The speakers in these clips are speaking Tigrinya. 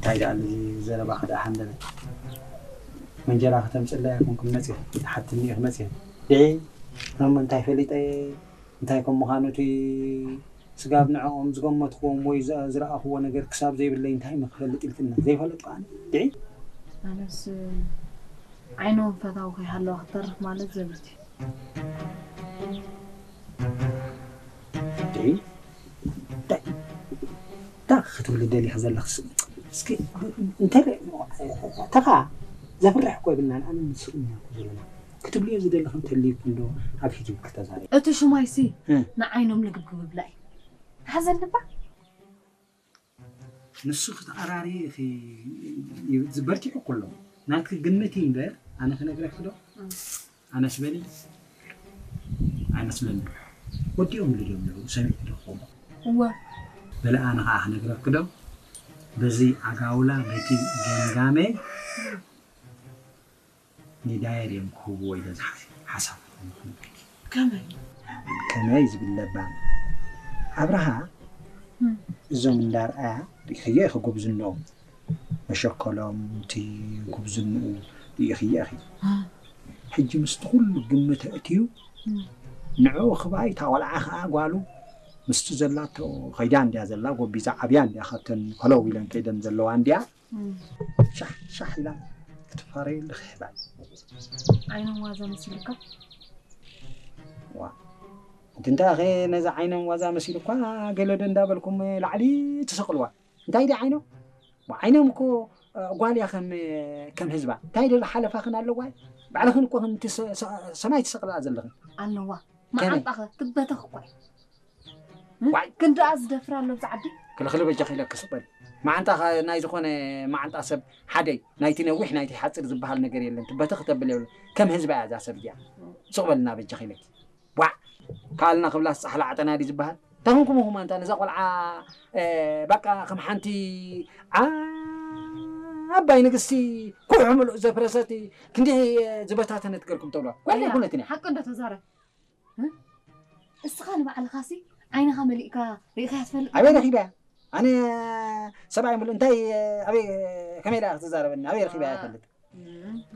እንታይ ደኣ እዚ ዘረባ ክደኣ ሓንደበ። መንጀራ ከተምፅላ ይኹንኩም መፅእ ሓትኒ ኢኹ መፅእ ድዒ እሞ እንታይ ፈሊጠ እንታይ ከም ምዃኑ እቲ ስጋብ ንዕኦም ዝገመትክዎም ወይ ዝረኣኽዎ ነገር ክሳብ ዘይብለይ እንታይ እሞ ክፈልጥ ኢልክና ዘይፈለጥኩ ኣነ ድዒ ኣነስ ዓይኖም ፈታዊ ከይሃለዋ ክትተርፍ ማለት ዘበት እዩ። እንታይ እንታይ እንታይ ክትብሊ ደሊኺ ዘለኽስ? እስኪ እንተ ተኻ ዘፍርሕ እኮ የብልናን። ኣነ ንስኹም ኢና እኮ ዘለና ክትብልዮ ዝደለኽን ተልይኩ እንዶ ኣብ ፊት ይብክ ተዛሪ እቲ ሽማይሲ እ። ንዓይኖም ልግብግብ ብላ እዩ። ሓዘን ልባ ንሱ ክትኣራሪ ኢኺ ይብል ዝበርቲዑ ኩሎ ናትኪ ግምት እዩ እምበር ኣነ ክነግረኪ ዶ ኣነስ በሊ ኣይመስለኒ ወዲኦም ኢሉ ድዮም ነሩ ሰሚዕ ዶ ክኸውን እወ በለ ኣነ ከዓ ክነግረኪ ዶ በዚ ኣጋውላ በቲ ገምጋመይ ኒዳየር እዮም ክህብዎ ኢለ ዝሓስብ ሓሳብ ከመይ ከመይ ዝብል ለባም ኣብርሃ እዞም እንዳርኣያ ርኢኽዮ ኢኺ ጉብዝንኦም መሸከሎም እቲ ጉብዝንኡ ርኢኽዮ ኢኺ ሕጂ ምስቲ ኩሉ ግምት ኣእትዩ ንዕኡ ክብኣይ እታ ቆልዓ ከዓ ጓሉ ምስቲ ዘላቶ ከይዳ እንድያ ዘላ ጎቢዛ ዓብያ እንድያ ካብተን ከለው ኢለን ከይደን ዘለዋ እንድያ ሻሕ ሻሕ ኢላ ክትፋረየሉ ክሕባይ ዓይኖም ዋዛ መሲሉካ ዋ እቲ እንታይ ኸ ነዚ ዓይኖም ዋዛ መሲሉ እኳ ገለ ዶ እንዳበልኩም ላዕሊ ትስቕልዋ እንታይ ዲ ዓይኖም ዋ ዓይኖም እኮ ጓል እያ ከም ከም ህዝባ እንታይ ዶ ሓለፋኽን ኣለዋ ባዕልኽን እኮ ከምቲ ሰማይ ትስቕላ ዘለኽን ኣለዋ መዓንጣኸ ትበተኽ እኳ ዋይ ክንድኣ ዝደፍር ኣሎ ኣብዚ ዓዲ ክልኽሊ በጃኺ ኢለኪ ስቕ በሊ መዓንጣ ናይ ዝኾነ መዓንጣ ሰብ ሓደይ ናይቲ ነዊሕ ናይቲ ሓፂር ዝበሃል ነገር የለን ትበተኽ ተብል የብሉ ከም ህዝባ እያ እዛ ሰብ እዚኣ ስቕ በልና በጃኺ ኢለኪ ዋዕ ካልና ክብላስ ፃሕሊ ዓጠና ድዩ ዝበሃል እንታይ ኮንኩም ኢኹም ኣንታ ነዛ ቆልዓ በቃ ከም ሓንቲ ዓባይ ንግስቲ ኩሑ ምሉእ ዘፍረሰት ክንዲ ዝበታተነት ገልኩም ተብሎ ጓል ኣይኮነትን እያ ሓቂ እንዶ ተዛረብ እስኻ ንባዕልኻሲ ዓይንኻ መሊእካ ርኢኻያ ትፈልጥ ኣበይ ረኺበያ ኣነ ሰብኣይ ምሉ እንታይ ኣበይ ከመይ ኢላ ክትዛረበኒ ኣበይ ረኺበያ ይፈልጥ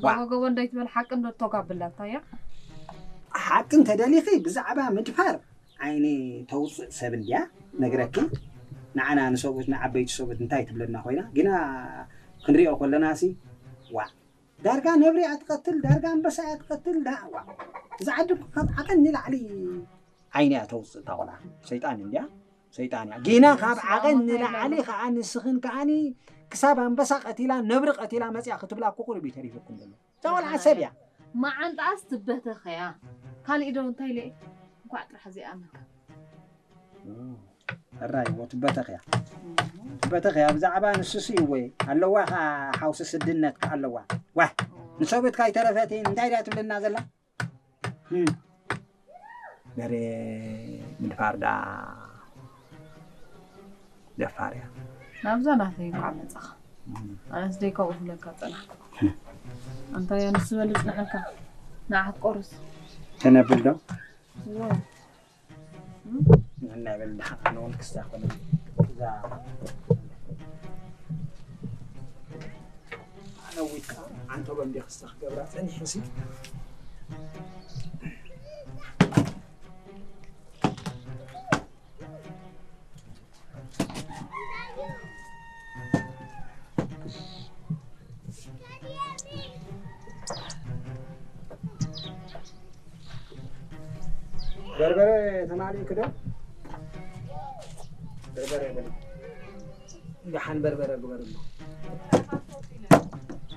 ዋጎጎቦ እንዳይትበል ሓቂ እንዶ ተጋብላታ እያ ሓቂ እንተደሊኺ ብዛዕባ ምድፋር ዓይኒ ተውፅእ ሰብ እንድያ ነግረኪ ንዓና ንሰብኡት ንዓበይቲ ሰብኡት እንታይ ትብለና ኮይና ግና ክንሪኦ ከለና ሲ ዋ ዳርጋ ነብሪ እያ ትቐትል፣ ዳርጋ ኣንበሳ እያ ትቐትል፣ ዳ ዋ እዛ ዓዲ እኮ ካብ ዓቐን ንላዕሊ ዓይኒ እያ ተውፅእ እታ ቆልዓ። ሰይጣን እንድያ ሰይጣን እያ። ጊና ካብ ዓቐን ንላዕሊ ከዓ ንስኽን ከዓኒ ክሳብ ኣንበሳ ቀቲላ ነብሪ ቀቲላ መፅያ ክትብላ እኮ ቁሩብ እዩ ተሪፉኩም ዘሎ። እዛ ቆልዓ ሰብ እያ። መዓንጣኣስ ትበተኸያ። ካሊእ ዶ እንታይ ኢለ እየ? እንኳዕ ጥራሕ ዘይኣመንካ። ሕራይ እሞ ትበተኽያ ትበተኽያ ብዛዕባ ንሱሲ እወ ኣለዋ ኸዓ ሓውሲ ስድነት ከ ኣለዋ ዋህ ንሰብትካ ኣይተረፈትን እንታይ ድያ ትብለና ዘላ በሬ ምድፋር ዳ ደፋር እያ ናብዛ ናተይ እንኳዕ መጻኻ ኣነስ ደይ ካብኡ ክብለካ ጸናሕኩ ኣንታ እያ ንስበል ጽንሐካ ንዓ ክትቆርስ ተነብል ዶ ንሕና ይበል ድሓን ኣነ እውን ክስታ ኮነ እዛ ኣነዊትካ ዓንተሎ እንዲ ክስታ ክገብራ ጸኒሐ ሲ በርበረ ተማሊእክ ዶ? በርበረ የብልን። ደሓን በርበረ ግበርሉ።